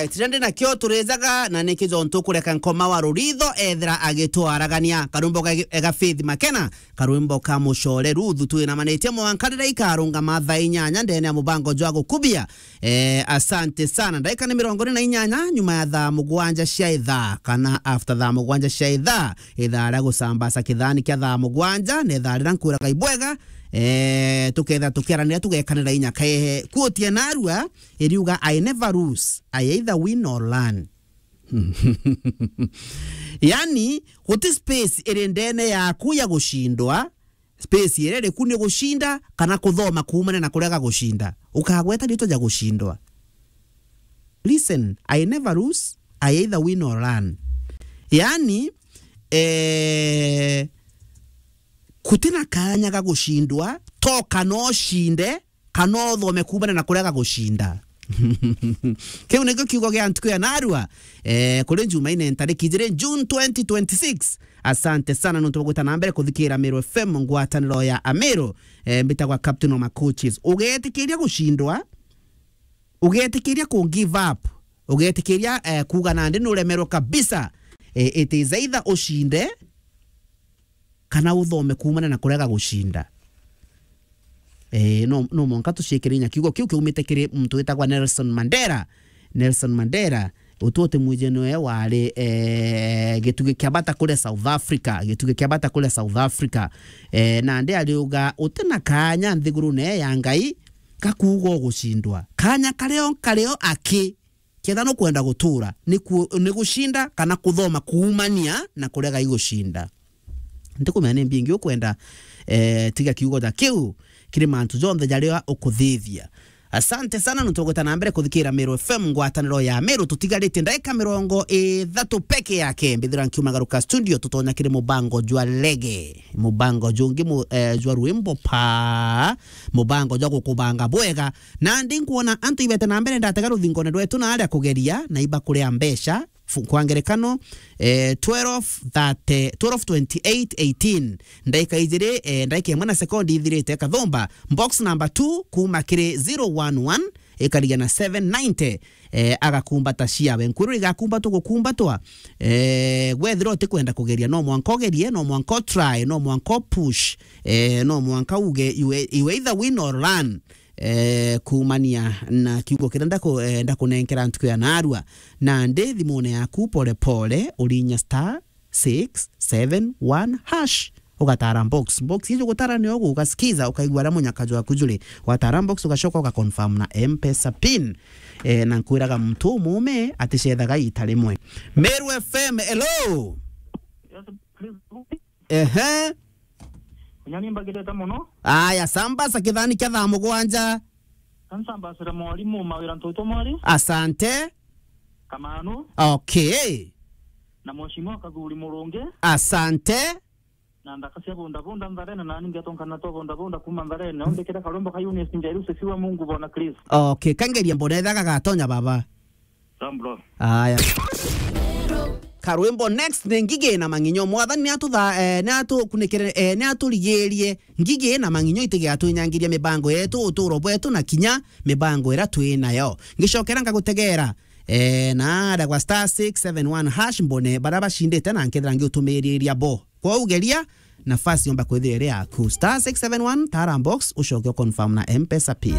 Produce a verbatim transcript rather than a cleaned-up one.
Right, rende nakio turijaga, na niki jontu kureka nkoma wa ruritho ethira agitwaragania. Karwimbo ga, ga Faith Makena, karwimbo ka Mucore Ruthu, twinamanitie mwanka riria ikarungama thaa inyanya ndene ya mubango jwa gukubia. Eh, asante sana. Ndaika ni mirongo iri na inyanya nyuma ya thaa mugwanja cia ithaa, kana after thaa mugwanja cia ithaa, ithaa ria gucambaca kithani kia thaa mugwanja, na ithaa riria nkwiraga ibwega, eh, tuketha tukiaranira, tugekanira inya kaehe. Quote ya narua iriuga, "I never lose, I either win or learn." Yani, guti space iri ndene yaku ya gucindwa, space iria iriku ni gucinda kana kuthoma kuumania na kurega gucinda. Ukagweta riitwa ja gucindwa. Listen, I never lose, I either win or learn. Yani, eh, gutina kanya ga gucindwa, to kana ucinde, kana uthome kuumania na kurega gucinda. Kiu nikio kiugo gia ntuku ya narua, eh, kuri Jumaine ntariki ijiri June twenty twenty-six. Asante sana nontu bwa gwita na mbere kuthikira Meru F M, ngwataniro ya Ameru. Eh, mbitagwa Captain Oma Coaches. Ugetikiria gucindwa, ugetikiria ku give up, ugetikiria, eh, kuuga nandi nuremerwe kabisa. Eh, it is either ucinde, kana uthome kuumana na kurega gucinda. Eh, no, no mwanka tuciikire inya kiugo kiu kiumite kiri muntu witagwa Nelson Mandela. Nelson Mandela, utu uti mwiji niwe wari, eh, gitugi kia bata kuria South Africa, gitugi kia bata kuria South Africa. Eh, nandi ariuga, utina kanya nthigurune ya Ngai ga kuuga ugucindwa. Kanya kario kario aki Ketha nukwenda gutura, ni ku-, ni gucinda kana kuthoma kuumania na kurega igucinda. Ntikumenya ni mbingi ukwenda, eh, tiga kiugo ja kiu kiri mantu jonthe jaria ukuthithia. Asante sana nontu ugwita na mbere kuthikira Meru F M, ngwataniro ya Meru. Tutigarite ndaika mirongo ithatu peke yake mbithira nkiumagaruka studio, tutonya kiri mubango jwa rege, mubango jungi mu-, eh, jwa rwimbo pa, mubango jwa gukubanga bwega. Nandi nkwona antu ibete na mbere ndatega ruthingone rwetu na aria kugeria na iba kuria mbeca. Fu-, kwa ngerekano, eh, twelve thirty, twelve twenty-eight eighteen, ndaika ijiri, eh, ndaika imwe na sekondi ithirite, kathumba box number two kuma kiri zero one one, ikarigia na seven ninety, eh, agakumbata ciawe. Nkwirwa igakumbatwa gukumbatwa, eh, wethira utikwenda kugeria, no mwanka ugerie, no mwanka utry, no mwanka upush, eh, no mwanka uge, you, you either win or learn. Eh, kuumania na kiugo kiria ndaku-, eh, ndakunenkera ntuku ya narua. Nandi thimune yaku pole pole urinya star six seven one hash, ugatara box. Box icio gutara ni ugu ugasikiza, ukaigua aria munyaka jwaku juri. Watara box ugacoka ugaconfirm na M-Pesa pin. Eh, na nkwiraga muntu umume aticethaga ita rimwe. Meru F M, hello. Yes, please. Ehe. Nyani mbagirete muno. Aya, sambaza kithani kia thaa mugwanja. Kansambasire mwarimu mawira ntutu mwari. Asante. Kamanu. Okay. Na mheshimiwa Kathuri Murungi. Asante. Na ndaka cia bunda bunda Ntharene, na ningi atonkana twa bunda bunda kuma Ntharene. Ombikire karwimbo ka Eunice Njeri, usifiwe Mungu Bwana Kristo. Okay, kangeria mbona ethaga gatonya baba. Sawa, bro. Aya. Karwimbo next ni Ngigi na Mang'inyo. Mwathani ni atutha-, eh, ni atukunikire, eh, ni aturigirie ngigi na mang'inyo itigatwinyangirie mibango yetu, uturo bwetu na kinya mibango ira twi nayo. Ngicokera ngagutegera, eh, na aria gwa star six seven one hash mbone baria bacindite na nkethira ngiutumiriria bo. Kwou geria nafasi yomba kwithira iri yaku. Star six seven one, tara box, ucoke uconfirm na M-Pesa pin.